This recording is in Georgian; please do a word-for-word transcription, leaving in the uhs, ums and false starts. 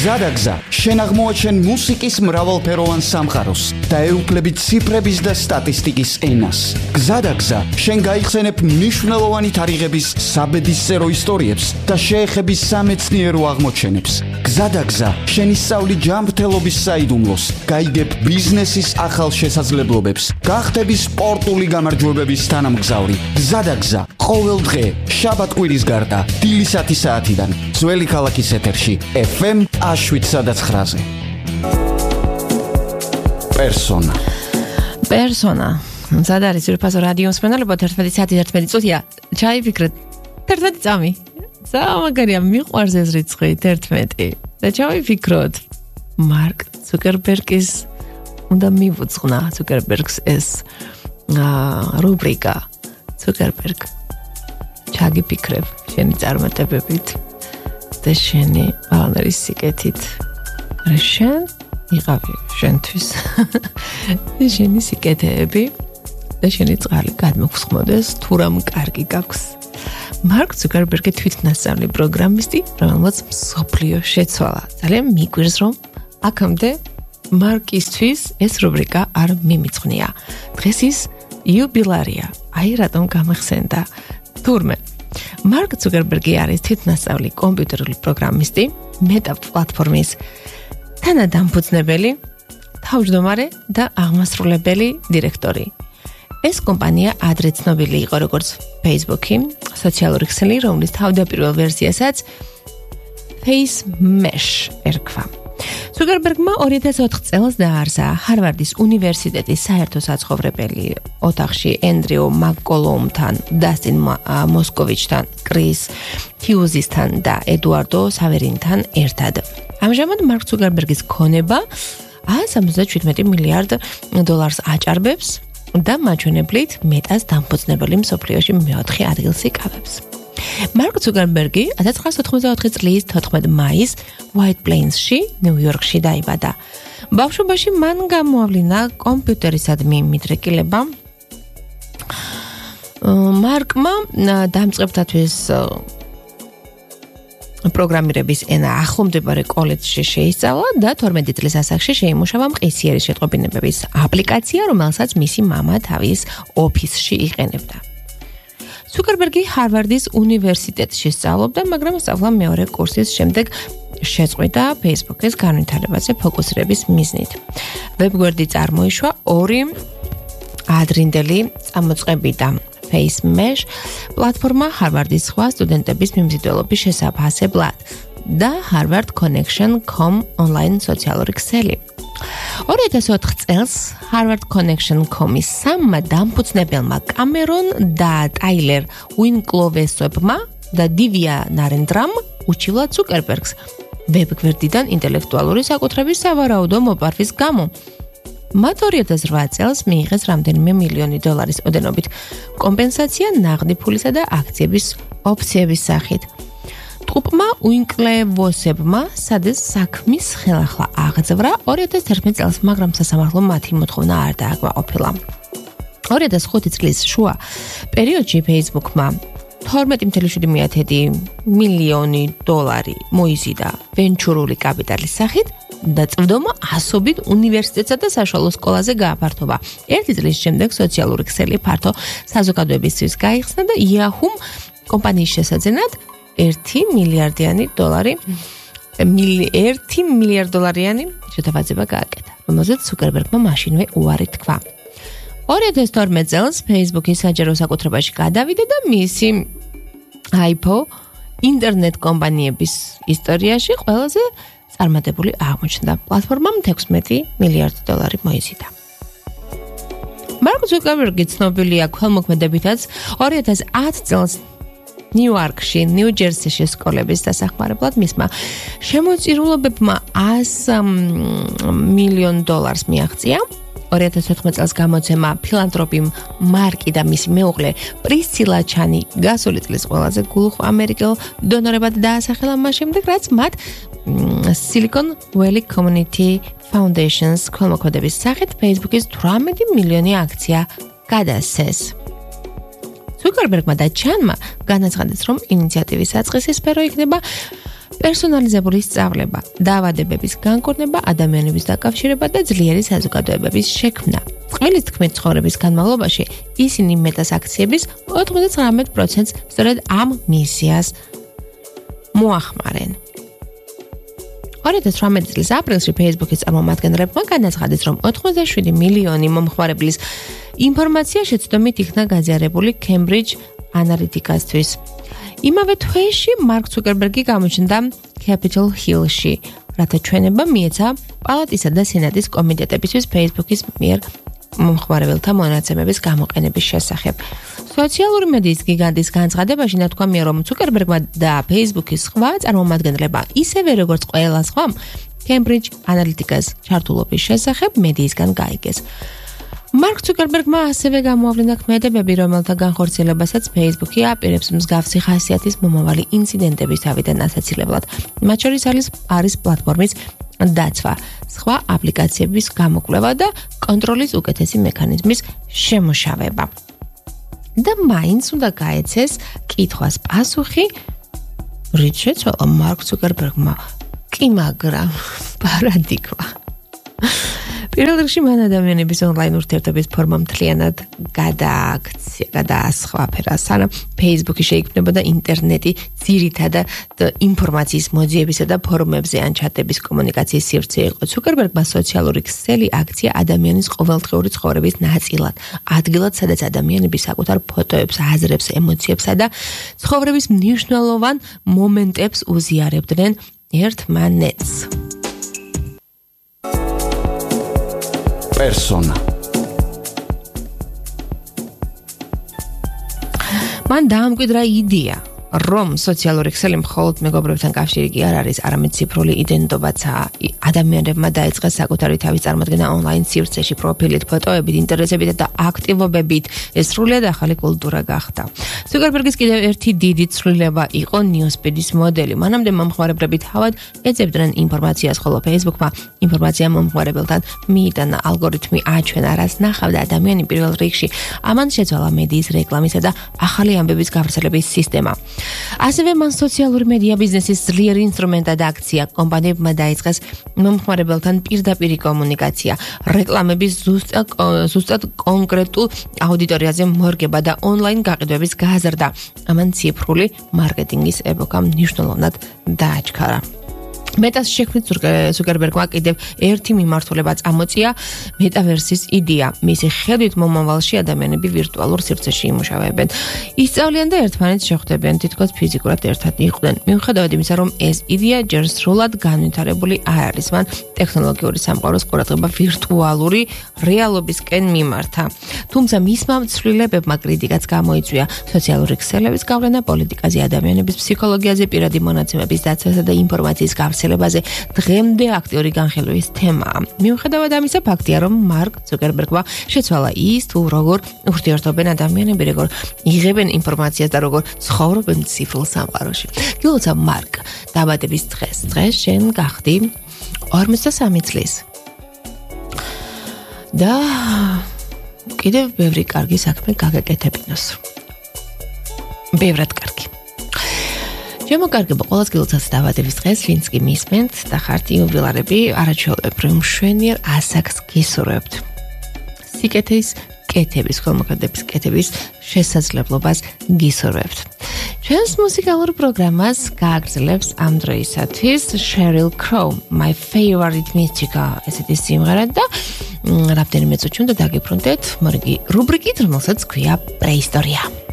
გზადაგზა, შენ აღმოაჩენ მუსიკის მრავალფეროვან სამყაროს და ეუფლები ციფრების და სტატისტიკის ენას. გზადაგზა, შენ გაიხსენებ მნიშვნელოვანი თარიღების საბედისწერო ისტორიებს და შეეხები სამეცნიერო აღმოჩენებს. გზადაგზა, შენ ისწავლი ჯანმრთელობის საიდუმლოს, გაიგებ ბიზნესის ახალ შესაძლებლობებს, გახდები სპორტული გამარჯვებების თანამგზავრი. გზადაგზა, ყოველ დღე, შაბათ-კვირის გარდა, დილისათი საათიდან, ძველი ქალაქის ეთერში, ეფ ემ შვიდ ცხრაზე. პერსონა. პერსონა. მზად არის ძვირფასო რადიო მსმენელებო თერთმეტი საათი თერთმეტი წუთია. ჩაიფიქრეთ. თერთმეტი წამი. ზამაგარია მიყვარს ეს რიცხვი თერთმეტი. და ჩავიფიქროთ. მარკ ცუკერბერგის უნდა მივუძღვნა ცუკერბერგს ეს რუბრიკა. ცუკერბერგ. ჩაგიფიქრებ შენი წარმატებებით. და შენი ბალანერის სიკეთით. რა შენ იყავი შენთვის. და შენი სიკეთეები და შენი წყალი გადმოგხსმოდეს თუ რამ კარგი გაქვს. მარკ ცუკერბერგი თვითნასწავლი პროგრამისტი, რომელმაც მსოფლიო შეცვალა. ძალიან მიგვირს რომ აქამდე მარკისთვის ეს რუბრიკა არ მიმიწყვნია. დღეს ის იუბილარია. აი რატომ გამახსენდა. თურმე მარკ ცუკერბერგი არის თვითნასწავლი კომპიუტერული პროგრამისტი, მეტა პლატფორმის თანადამფუძნებელი, თავმჯდომარე და აღმასრულებელი დირექტორი. ეს კომპანია ადრე ცნობილი იყო როგორც Facebook-ი, სოციალური ქსელი, რომლის თავდაპირველ ვერსიასაც FaceMesh ერქვა. ცუკერბერგმა ორი ათას ოთხ წელს დააარსა ჰარვარდის უნივერსიტეტის საერთო საცხოვრებელი ოთახში ენდრიუ მაკკოლუმთან, დასტინ მოსკოვიჩთან, კრის ჰიუზისთან და ედუარდო სავერინთან ერთად. ამჟამად მარკ ცუკერბერგის ქონება εκατს სამოცდაშვიდმეტი მილიარდ დოლარს აჭარბებს და მაჩვენებლით მეტას დამფუძნებელი მსოფლიოში მეოთხე ადგილს იკავებს. მარკ ცუკერბერგი εκατს ცხრაასი ოთხმოცდაოთხი წლის თოთხმეტ მაისს White Plains-ში, ნიუ-იორკში დაიბადა. ბავშვობაში მან გამოავლინა კომპიუტერისადმი მიდრეკილება. მარკმა დამწყებთათვის პროგრამირების ენა ახლომდებარე კოლეჯში შეისწავლა და თორმეტი წლის ასაკში შეიმუშავა მყისიერი შეტყობინებების აპლიკაცია, რომელსაც მისი მამა თავის ოფისში იყენებდა. ცუკერბერგი ჰარვარდის უნივერსიტეტში სწავლობდა, მაგრამ სწავლა მეორე კურსის შემდეგ შეწყვიტა Facebook-ის განვითარებაზე ფოკუსირების მიზნით. ვებგვერდი წარმოიშვა ორი ადრინდელი წამოწყებიდან. FaceMesh პლატფორმა ჰარვარდის სხვა სტუდენტების მიმზიდველობის შესაფასებლად და Harvard Connection τελεία com ონლაინ სოციალური ქსელი. ორი ათას ოთხ წელს Harvard Connection τελεία com-ის სამმა დამფუძნებელმა კამერონ და ტაილერ უინკლოვესებმა და დივია ნარენდრამ უჩივლა ცუკერბერგს ვებგვერდიდან ინტელექტუალური საკუთრების სავარაუდო მოპარვის გამო. მათ ორი ათას რვა წელს მიიღეს რამდენიმე მილიონი დოლარის ოდენობით კომპენსაცია ნაღდი ფულისა და აქციების ოფციების სახით. ტყუპმა უინკლევოსებმა სადეს საქმის ხელახლა აღძვრა ორი ათას თერთმეტ წელს, მაგრამ სასამართლო მათი მოთხოვნა არ დააკმაყოფილა. ორი ათას ხუთი წლის შუა პერიოდში Facebook-მა თორმეტი წუთი შვიდი მილიონი დოლარი მოიზიდა ვენჩურული კაპიტალის სახით და წვდომა ასობით უნივერსიტეტსა და საშუალო სკოლაზე გააფართოვა. ერთი წლის შემდეგ სოციალური ქსელი ფართო საზოგადოებისთვის გაიხსნა და Yahoo კომპანიის შესაძენად ერთი მილიარდიანი დოლარი ერთი მილიარდ დოლარიანი შეთავაზება გააკეთა, რომელზეც ცუკერბერგმა მაშინვე უარი თქვა. ორი ათას თორმეტ წელს Facebook-ის საჯარო საკუთრებაში გადავიდა და მისი I P O ინტერნეტ კომპანიების ისტორიაში ყველაზე წარმატებული აღმოჩნდა. პლატფორმამ თექვსმეტი მილიარდი დოლარი მოიზიდა. მარკ ცუკერბერგი ცნობილია ქველმოქმედებითაც ორი ათას ათ წელს ნიუ-იორკში, ნიუ-ჯერსიში სკოლების დასახმარებლად მისმა შემოწირულობებმა ას მილიონ დოლარს მიაღწია. ორი ათას ოთხმეტ წელს გამოცემა ფილანტროპი მარკი და მისი მეუღლე პრისცილა ჩანი გასული წლის ყველაზე გულუხ ამერიკელ დონორებად დაასახელა მას შემდეგ, რაც მათ Silicon Valley Community Foundation's ქველმოქმედების სახით Facebook-ის თვრამეტი მილიონი აქცია გადასცეს. ცუკერბერგმა და ჩანმა განაცხადეს, რომ ინიციატივის საწყისი სფერო იქნება პერსონალიზებული სწავლება, დაავადებების განკურნება, ადამიანების დაკავშირება და ძლიერი საზოგადოებების შექმნა. Წყვილის თქმით, ცხოვრების განმავლობაში ისინი მეტას აქციების ოცდათხმეტ პროცენტს სწორედ ამ მისიას მოახმარენ. ორი ათას თვრამეტი წლის აპრილში Facebook-ის წარმომადგენლებმა განაცხადეს, რომ ოცდაშვიდი მილიონი მომხმარებლის ინფორმაცია შეცდომით იქნა გაზიარებული Cambridge Analytica-თვის. იმავე თვეში მარკ ცუკერბერგი გამოჩნდა Capitol Hill-ში, რათა ჩვენება მიეცა პალატისა და სენატის კომიტეტებისთვის Facebook-ის მიერ მომხმარებელთა მონაცემების გამოყენების შესახებ. სოციალური მედიის გიგანტის განცხადებაში ნათქვამია, რომ ცუკერბერგმა და Facebook-ის სხვა წარმომადგენლებმა ისევე როგორც ყველა სხვამ Cambridge Analytica-ს ჩართულობის შესახებ მედიისგან გაიგეს. მარკ ცუკერბერგმა ასევე გამოავლინა ქმედებები, რომელთა განხორციელებასაც Facebook-ი აპირებს მსგავსი ხასიათის მომავალი ინციდენტების თავიდან ასაცილებლად. მათ შორის არის პლატფორმის დაცვა, სხვა აპლიკაციების გამოკვლევა და კონტროლის უკეთესი მექანიზმის შემუშავება. და მაინც უნდა გაეცეს კითხვას პასუხი, რით შეცვალა მარკ ცუკერბერგმა კი მაგრამ პარადიგმა. პირველ რიგში მან ადამიანების ონლაინ ურთიერთობის ფორმა მთლიანად გადააქცია, გადაასხვაფერა, სანამ Facebook-ი შეიქმნებოდა ინტერნეტი ძირითადად ინფორმაციის მოძიებისა და ფორუმებზე ან ჩატების კომუნიკაციის სივრცე იყო. ცუკერბერგმა სოციალური ქსელი აქცია ადამიანის ყოველდღიური ცხოვრების ნაწილად, ადგილად, სადაც ადამიანები საკუთარ ფოტოებს, აზრებს, ემოციებსა და ცხოვრების მნიშვნელოვან მომენტებს უზიარებდნენ ერთმანეთს. Persona. მან დაამკვიდრა იდეა, რომ სოციალური ქსელი მხოლოდ მეგობრებთან კავშირი კი არ არის, არამედ ციფრული იდენტობაცაა. ადამიანებმა დაიწყეს საკუთარი თავის წარმოდგენა ონლაინ სივრცეში, პროფილით, ფოტოებით, ინტერესებით და აქტივობებით. ეს სრულიად ახალი კულტურა გახდა. ცუკერბერგის კიდევ ერთი დიდი ცვლილება იყო ნიუსფიდის მოდელი. მანამდე მომხმარებლები თავად ეძებდნენ ინფორმაციას, ხოლო Facebook-მა ინფორმაცია მომხმარებელთან მიიტანა. ალგორითმი აჩვენა, რაც ნახავდა ადამიანი პირველ რიგში. ამან შეცვალა მედიის რეკლამისა და ახალი ამბების გავრცელების სისტემა. ასევე მან სოციალური მედია ბიზნესის ძლიერი ინსტრუმენტად აქცია. კომპანიებმა დაიწყეს მომხმარებელთან პირდაპირი კომუნიკაცია, რეკლამების ზუსტად ზუსტად კონკრეტულ აუდიტორიაზე მორგება და ონლაინ გაყიდვების გაზრდა. ამან ციფრული მარკეტინგის ეპოქა მნიშვნელოვნად დააჩქარა. მეტას შექმნით ცუკერბერგმა კიდევ ერთი მიმართულება წამოწია მეტავერსის იდეა. მისი ხედვით მომავალში ადამიანები ვირტუალურ სივრცეში იმუშავებენ. ისწავლიან და ერთმანეთს შეხვდებიან, თითქოს ფიზიკურად ერთად იყვნენ. მიუხედავად იმისა, რომ ეს იდეა ჯერ სრულად განვითარებული არ არის, მან ტექნოლოგიური სამყაროს ყურადღება ვირტუალური რეალობისკენ მიმართა. თუმცა მისმა ცვლილებებმა კრიტიკაც გამოიწვია. სოციალური ქსელების გავლენა პოლიტიკაზე, ადამიანების ფსიქოლოგიაზე, პირადი მონაცემების დაცვასა და ინფორმაციის გავრცელებაზე დღემდე აქტიური განხილვის თემაა. მიუხედავად ამისა, ფაქტია, რომ მარკ ცუკერბერგმა შეცვალა ის, თუ როგორ ურთიერთობენ ადამიანები, როგორ იღებენ ინფორმაციას და როგორ ცხოვრობენ ციფრულ სამყაროში. გილოცავ მარკ, დაბადების დღეს. დღეს შენ გახდი ორმოცდასამი წლის. და კიდევ ბევრი კარგი საქმე გაგეკეთებინოს. ბევრად კარგი. შემოგარგება ყოველს გილოცავს დაბადების დღეს, ვინც კი მისმენთ და ხართ იუბილარები, არაჩვეულებრივ მშვენიერ ასაკს გისურვებთ. სიკეთის კეთების, ხოლმოქმედების კეთების შესაძლებლობას გისურვებთ. ჩვენს მუსიკალურ პროგრამას გააგრძელებს ამ დროისათვის Sheryl Crow, My Favorite Mystica, ესეთი სიმღერა და რამდენიმე წუთში უნდა დაგიბრუნდეთ მორიგი რუბრიკით, რომელსაც ქვია პრეისტორია.